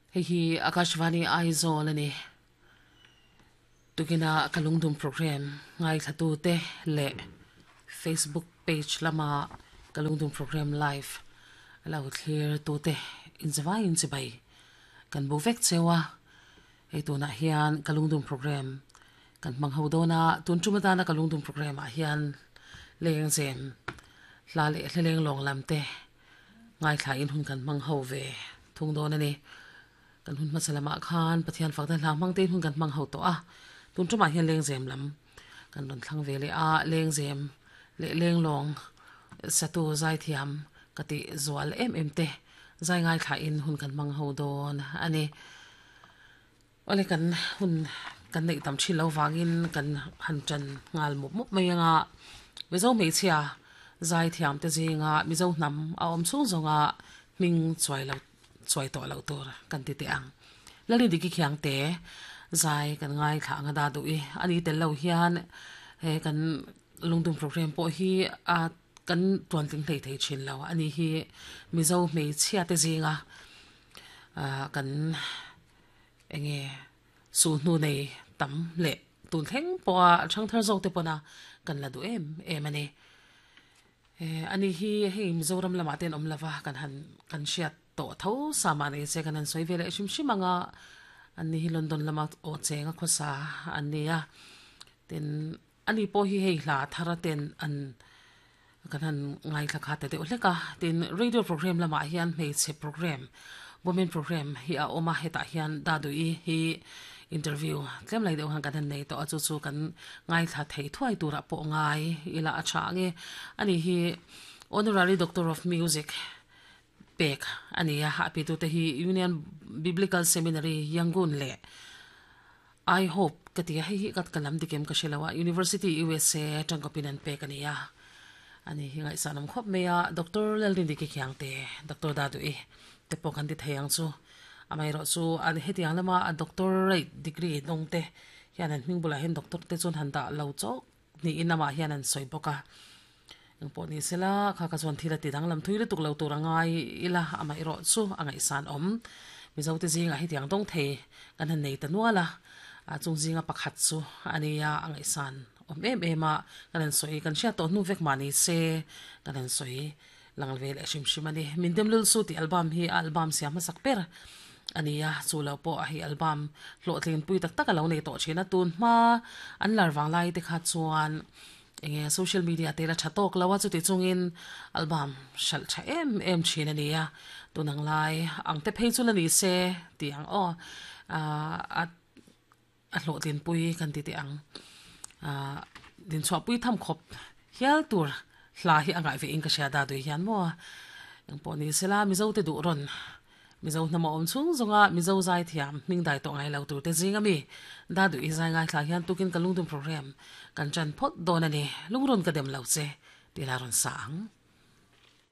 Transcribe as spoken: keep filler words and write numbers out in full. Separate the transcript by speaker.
Speaker 1: Hei hi Akashvani Aizawl ani. Tukina kalungdum program ngai thlatu te le Facebook page lama kalungdum program live lo thlir tu te inzawai in chibai kan bu vek chewa. Hei tunah hian kalungdum program kan hmang ho dawna tun tuma tana kalungdum program ah hian leng zem hla leh hlaleng lawng lam te ngai thla in hun kan hmang ho ve thung dawn ani. Kan hun hmasa lamah khan Pathian fakna hla hmang te hun kan hmang ho tawh a, tun tumah hian leng zem lam kan rawn thlang ve leh a. Leng zem leh leng lawng satu zai thiam ka ti zual em em te zai ngai thla in hun kan hmang ho dawn ani. Ole kan hun kan nei tam thin lo wangin kan han chan ngal mup mup mai anga. Mizo hmeichhia zai thiam te zinga mizo hnam a awm chung zawnga hming chuai lo chuai tawh lo tur kan ti te ang. Lali diki khiang te zai kan ngai thla anga da du i ani tel lo hian he kan lungdum program pawh hi a kan tuan tling hlei thei thin lo ani hi. Mizo hmeichhia te zinga kan enge su hnu nei tam le tun thleng pawha thang thar zawk te pawna kan la du em em ani. Ani hi hei Mizoram lamah ten awm lova kan han kan hriat tawh tho sama nei che kan han sawi ve leh hrim hrim anga. Ani hi London lama aw chenga khawsa an nia. Tin ani pawh hi hei hla thar ten an kan han ngai thla kha te deuh hlek a. Tin radio program lamah hian hmeichhe program women program hi a awm a, hetah hian Dadui hi interview tlem lai deuh han kan han nei tawh a, chu chu kan ngai thla thei thuai turah pawh ngai ila a tha ange. Ani hi honorary doctor of music pek ani a, a pitu te hi Union Biblical Seminary Yangon le I Hope ka ti hei hi kat kalam dikem ka hrelowa University U S A tangkapin an pek ani a. Ani hi ngai sanam khop meya Doctor Lalrin Diki Khiang te Doctor Dadui te pawh kan ti thei ang chu. Amai ro chu an hetiang lama a doctorate degree dong te hian an hming bulah hian doctor te chuan han dah lo chawk ni in lamah hian an sawi bawk a. Eng pawh ni sela kha ka chuan thil a ti danglam thui lutuk lo tur angai ila amai ro chu a ngaihsan awm. Mizo te zinga hetiang dawng thei kan han nei ta nual a, a chung zinga pakhat chu ania a ngaihsan awm em em a. Kan han sawi kan hriat tawh hnu vek mah ni se kan han sawi lang ve leh hrim hrim ani. Min dem lul su ti album hi a album siam hmasak ber ania, chu lo pawh a hi album hlawhtlin pui tak tak a lo nei tawh thin a. Tun hma an lar wang lai te kha chuan enge social media te la tha tawk lo a, chuti chungin album hral tha em em thin ania. Tunang lai ang te phei chu la ni se ti ang aw a a hlawhtlin pui kan ti te ang din chhuah pui tham khawp hial tur hla hi angai ve in ka hria da dui hian maw. Eng pawh ni sela Mizo te duh rawn Mizo hnam a awm chung zawnga Mizo zai thiam hming dai tawh ngai lo tur te zinga mi da dui zai ngai thla hian tukin kalungdum program kan chan phawt dawn ani. Lungrun ka dem lo che ti la rawn sa ang.